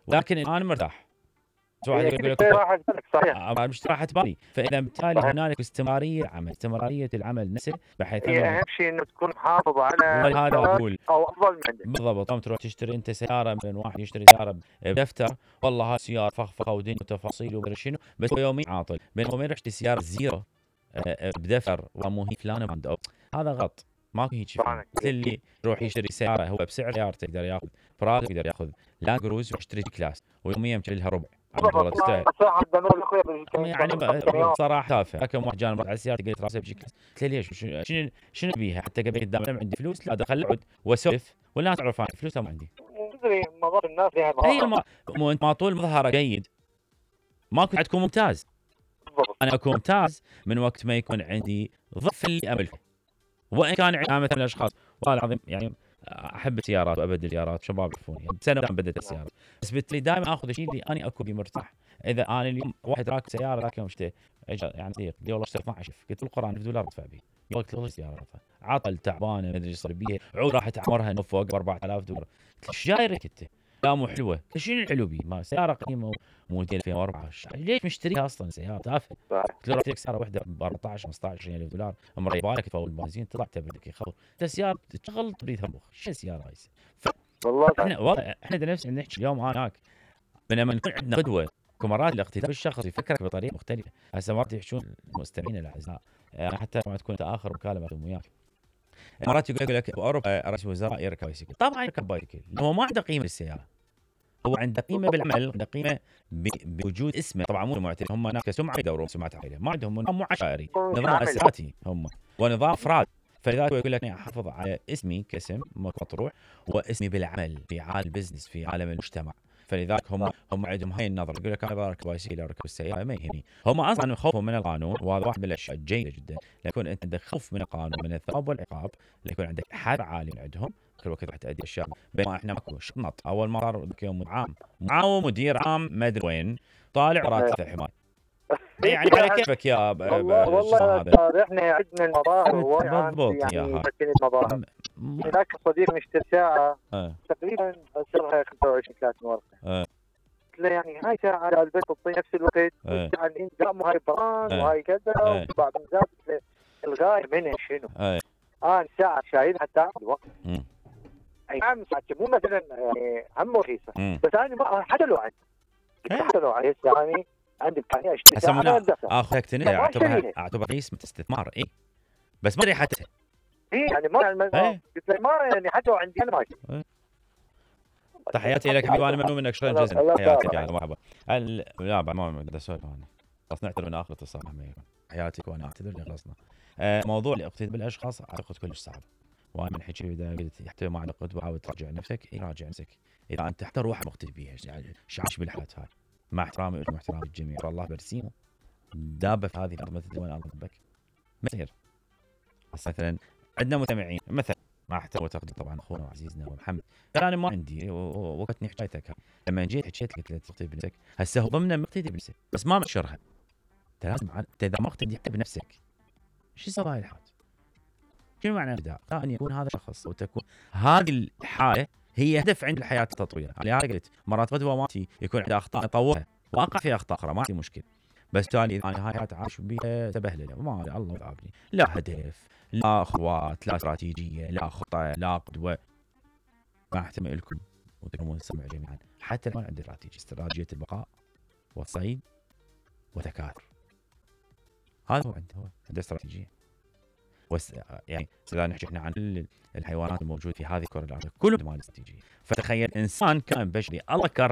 ولكن انا مرتاح. واحد يقول لك صحيح مش راحه بالي، فاذا بالتالي هنالك استمراريه العمل، استمراريه العمل نفسه، بحيث هي اهم شيء انه تكون محافظ على هذا اقول او افضل من عندك. بالضبط. تروح تشتري انت سياره من واحد يشتري سياره بدفتر، والله هاي سياره فخفخه ودنيا وتفاصيل ومدري شنو، بس هو يوميا عاطل، بينما وين يشتري سياره زيرو بدفتر ومو هي فلانه براند، هذا غلط. ماكو هيك شيء. مثل اللي يروح يشتري سياره هو بسعر سيارته يقدر ياخذ براغ، يقدر ياخذ لاند كروز ويشتري كلاس، ويوميا مشتري لها ربع. والله تستاهل. يعني صراحه تافه. كم واحد جانب على السياره قلت راسه بشي كلاس، قلت له ليش؟ شنو بيها؟ حتى قبل قدام لما عندي فلوس لا ادخل اقعد واسولف والناس تعرف انا فلوسها ما عندي. تدري مظهر الناس يعني مو انت ما طول مظهره جيد ماكو تكون ممتاز. انا اكون ممتاز من وقت ما يكون عندي ضعف اللي املكه، وان كان عندي مثلا اشخاص والله العظيم يعني احب السيارات وابدل السيارات، شباب يعرفوني يعني بسنه بدلت السياره، بس بالتالي دائما اخذ الشيء اللي انا اكون مرتاح. اذا انا اليوم واحد راكب سياره ذاك يوم اشتري يعني صديق قال والله اشتري 12 قلت له القران $1000 ادفع به، قلت له السياره عطل تعبانه ما ادري ايش صار بيها، عود راحت اعمرها انه فوق $4000. قلت له ايش جايرك انت؟ لا مو حلوه. شنو الحلو بي؟ ما سياره قديمه موديل 2004 ليش مشتريها اصلا؟ سياره تافهه. قلت له رحت لك سياره واحده ب 14 $15,000 مريبه لك تفول البنزين طلع تبردك يخبر سياره تشغل تريد همبخ. شو السياره هاي؟ والله احنا نفس نحكي اليوم انا هناك بينما نكون عندنا قدوه كمرات الاقتداء بالشخص يفكرك بطريقه مختلفه. هسه مرات يحشون المستمعين الاعزاء يعني حتى ما تكون انت اخر مكالمه وياك مرات يقول لك باوروبا رئيس الوزراء يركب بايسكل، طبعا يركب بايسكل هو ما عنده قيمه للسياره، هو عنده قيمه بالعمل، عنده قيمه بوجود اسمه. طبعا مو معترف هم هناك كسمعه يدورون سمعه عائله، ما عندهم نظام عشائري، نظام اسراتي هم ونظام افراد. فلذلك يقول لك احافظ على اسمي كاسم مطروح واسمي بالعمل في عالم البزنس في عالم المجتمع. فلذلك هم عندهم هاي النظره، يقول لك انا بركب بايسكل اركب السياره ما يهمني. هم اصلا خوفهم من القانون، وهذا واحد من الاشياء الجيده جدا، ليكون انت عندك خوف من القانون من الثواب والعقاب، ليكون عندك حذر عالي من عندهم كل وقت راح تأدي اشياء. بينما احنا ماكو شنط. اول ما صار يوم معاوم مدير عام ما ادري وين طالع راتب الحمايه يعني على كيفك يا والله احنا عندنا المظاهر بالضبط يعني المظاهر. هناك صديق مشتري ساعه تقريبا سعرها 25-30 ورقه. قلت له يعني هاي ساعه البس تعطي نفس الوقت يعني انت وهاي بران وهاي كذا وبعض الناس الغايه منها شنو؟ انا ساعه شايلها حتى الوقت. اي نعم مو مثلا يعني هم رخيصه بس انا حتى لو عندي الساعه عندي امكانيه اشتري ساعه اخذك تنين اعتبر قسمه استثمار اي بس ما ادري حتى يعني ما قلت له ما يعني حتى لو عندي انا ما تحياتي لك حبيبي، انا ممنون منك شكرا جزيلا. حياتك يا مرحبا. لا بعد ما اقدر اسولف انا خلاص نعتذر من اخر اتصال. حياتك وانا اعتذر اللي خلصنا. موضوع الاقتداء بالاشخاص اعتقد كلش صعب، وانا من حكي اذا قلت حتى ما عندك قدوه حاول تراجع نفسك. راجع نفسك اذا انت حتى روح مقتدي بيها يعني عايش بالحياه هاي مع احترامي لكم واحترام الجميع. الله برسيمه دابه في هذه الارض مثل وين الله ربك مثير. بس مثلا عندنا مستمعين مثلا مع احترام وتقدير طبعا اخونا وعزيزنا ومحمد، انا ما عندي وقتني حكايتك لما جيت حكيت لك تقتدي بنفسك. هسه هو ضمن مقتدي بنفسك بس ما منشرها. انت لازم اذا ما اقتدي حتى بنفسك شو يسوي هاي الحال؟ شنو معنى الابداع؟ ان يكون هذا الشخص وتكون هذه الحاله هي هدف عند الحياه التطوير. لهذا قلت مرات قدوه مالتي يكون عندي اخطاء اطورها واقع في اخطاء اخرى ما عندي مشكله، بس تالي اذا انا هاي حياتي عايش بيها تبهلله ما الله يعافني، لا هدف لا اخوات لا استراتيجيه لا خطه لا قدوه. ما احتمل لكم وتكونون تسمع جميعا حتى لو عندي استراتيجيه البقاء والصيد وتكاثر. هذا هو عنده استراتيجيه. يعني اذا نحكي احنا عن كل الحيوانات الموجوده في هذه الكره الارضيه كلهم ما استراتيجيه. فتخيل انسان كائن بشري الله كرم